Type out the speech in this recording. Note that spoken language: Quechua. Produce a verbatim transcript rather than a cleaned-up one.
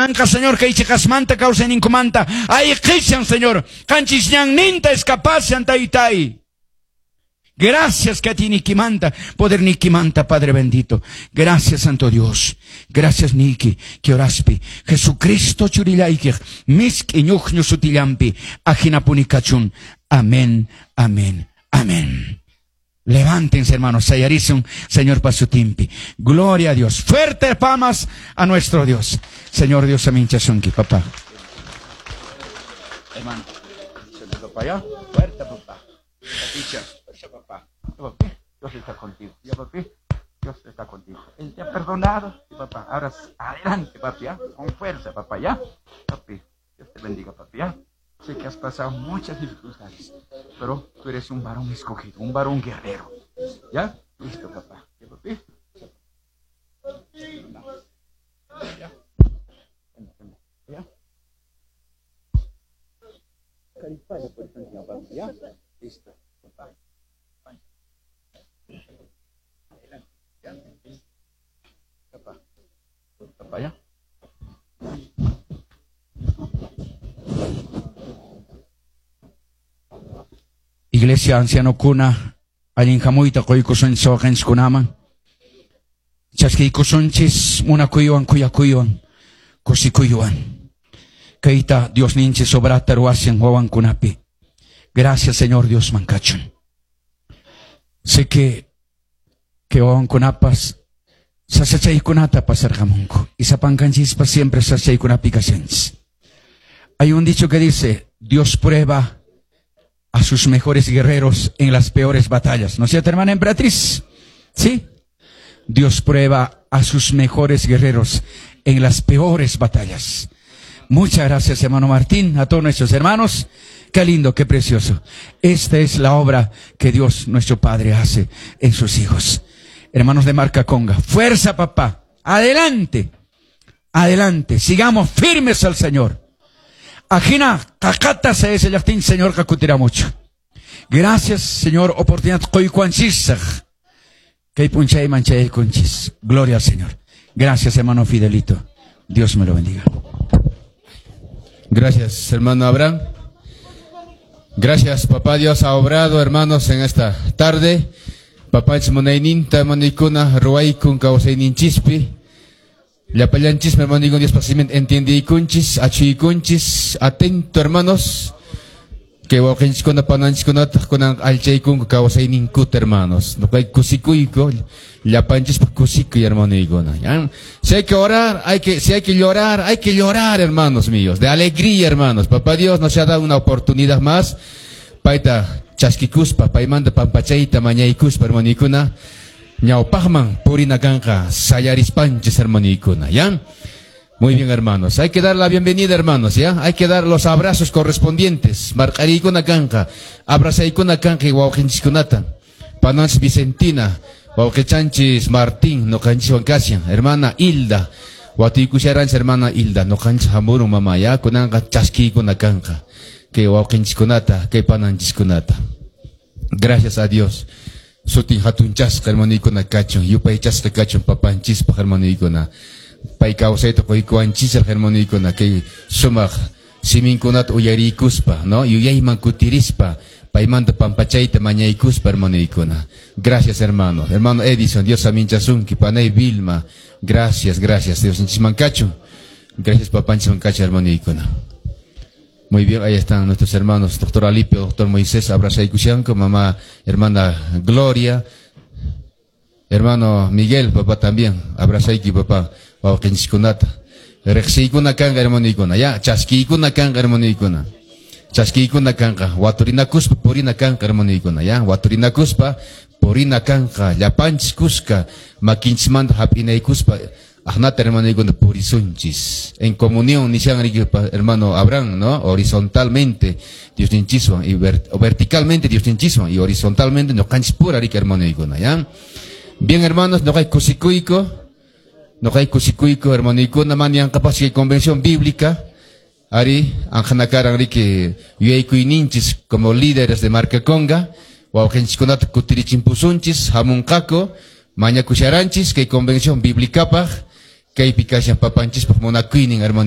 Kunanqa, Señor, kay chiqasmanta kawsayninkumanta ayqishan, Señor. Qanchis ñanninta escapashan, taytay. Gracias que manta, poder manta, Padre bendito. Gracias, Santo Dios. Gracias, Niki, que oraspi. Jesucristo churillaykej, misk'i ñuqñu sutillampi, ajinapuni kachun. Amén, amén, amén. Levántense, hermanos, sayarisun, Señor pa sutimpi. Gloria a Dios. Fuertes palmas a nuestro Dios. Señor Dios, saminchasunki, papá. Hermano, se allá. Fuerte, papá. Papá. Papi, Dios está contigo. Ya, papi, Dios está contigo. Él te ha perdonado. Sí, papá. Ahora adelante, papi, ¿ya? Con fuerza, papá, ¿ya? Papi, Dios te bendiga, papi, ¿ya? Sé que has pasado muchas dificultades, pero tú eres un varón escogido, un varón guerrero. ¿Ya? Listo, papá. ¿Ya, papi? ¿Ya? ¿Ya? ¿Ya? Listo, papá. Papá. Papá, ¿ya? Iglesia anciano kuna, allin hamuyta qoykusunchis waqanchikkunaman, chaskiykusunchis munakuywan kuyakuywan kusikuywan. Kayta Diosninchis obrata ruwashan wawankunapi. Gracias, Señor Dios mankachun. Sé que que wawankunapas sasachaykunata pasarqamunku y sapankanchispas siempre sasachaykunapi kashanchis. Hay un dicho que dice, Dios prueba a sus mejores guerreros en las peores batallas. ¿No es cierto, hermana emperatriz? ¿Sí? Dios prueba a sus mejores guerreros en las peores batallas. Muchas gracias, hermano Martín, a todos nuestros hermanos. Qué lindo, qué precioso. Esta es la obra que Dios, nuestro Padre, hace en sus hijos. Hermanos de Marca Conga, fuerza, papá. Adelante, adelante. Sigamos firmes al Señor. Ajina, cacata se ese yachtin, Señor, kakutira mucho. Gracias, Señor, oportunidad qoykuanchisaj. Kay punchay manchay kunchis. Gloria al Señor. Gracias, hermano Fidelito. Dios me lo bendiga. Gracias, hermano Abraham. Gracias, papá Dios ha obrado, hermanos, en esta tarde. Papá munayninta, hermanikuna, ruwaykun kawsayninchispi. Llapallanchis, hermano, Dios pasiment entiendiykunchis, achuykunchis, atento, hermanos. Que wawqinchiskuna pananchiskunataq kunan allchaykunku kawsayninkuta, hermanos. Noqayku kusikuyku, llapanchispaq kusikuy, hermanoykuna. Si hay que orar, hay que, si hay que llorar, hay que llorar, hermanos míos. De alegría, hermanos. Papá Dios nos ha dado una oportunidad más. Payta chaskikuspa, paymanta pampachayta mañaykuspa, hermanoykuna. Ñawpaqman purina kanqa sayarispanchis, hermanoykuna, ¿ya? Muy bien, hermanos. Hay que dar la bienvenida, hermanos, ¿ya? Hay que dar los abrazos correspondientes. Marqariykuna kanqa, abrazaykuna kanqa y wawqinchiskunata. Pananchis Vicentina, wawqichanchis Martín, noqanchiswan kashan. Hermana Hilda, watuykusharanchis hermana Hilda, noqanchis hamurun mama, ¿ya? Kunanqa chaskiykuna kanqa. Kay wawqinchiskunata, kay pananchiskunata. Gracias a Dios. Sutin hatunchasqa, hermanoykuna kachun, yupaychasqa kachun papanchispaq, hermanoykuna. Pay kawsayta qoykuwanchisaq, hermanoykuna, kay sumaq siminkunata uyariykuspa, ¿no? Yuyayman kutirispa, paymanta pampachayta mañaykuspa, hermanoykuna. Gracias, hermano. Hermano Edison, Dios saminchasunki, panay Vilma. Gracias, gracias. Dios inchisman kachun. Gracias, papanchisman kachun, hermanoykuna. Muy bien, ahí están nuestros hermanos, doctor Alipio, doctor Moisés, abrazaykushanku, mamá, hermana Gloria, hermano Miguel, papá también, abrazayki, papá, wawqinchiskunata. Riqsiykuna kanqa, hermanoykuna, ya, chaskiykuna kanqa, hermanoykuna. Chaskiykuna kanqa, waturinakuspa purina kanqa, hermanoykuna, ya, waturinakuspa purina kanqa, llapanchis kuska, makinchismanta hap'inaykuspa, ajnata, hermanoykuna, purisunchis. En comunión, nishan hermano Abraham, ¿no? Horizontalmente, Diosninchiswan, y vert verticalmente Diosninchiswan, y horizontalmente noqanchis pura rika, hermanoykuna, ¿ya? Bien, hermanos, noqay kusikuyku, noqay kusikuyku, hermanoykuna, manianqapas kay convención bíblica, ari, anjanakaran riki yuyaykuyninchis como líderes de Marca Conga, wawqinchiskunata kutirichinpusunchis, hamunqaku, mañakusharanchis kay convención bíblicapaq, kaypi kashan papanchispaq munakuynin, hermano.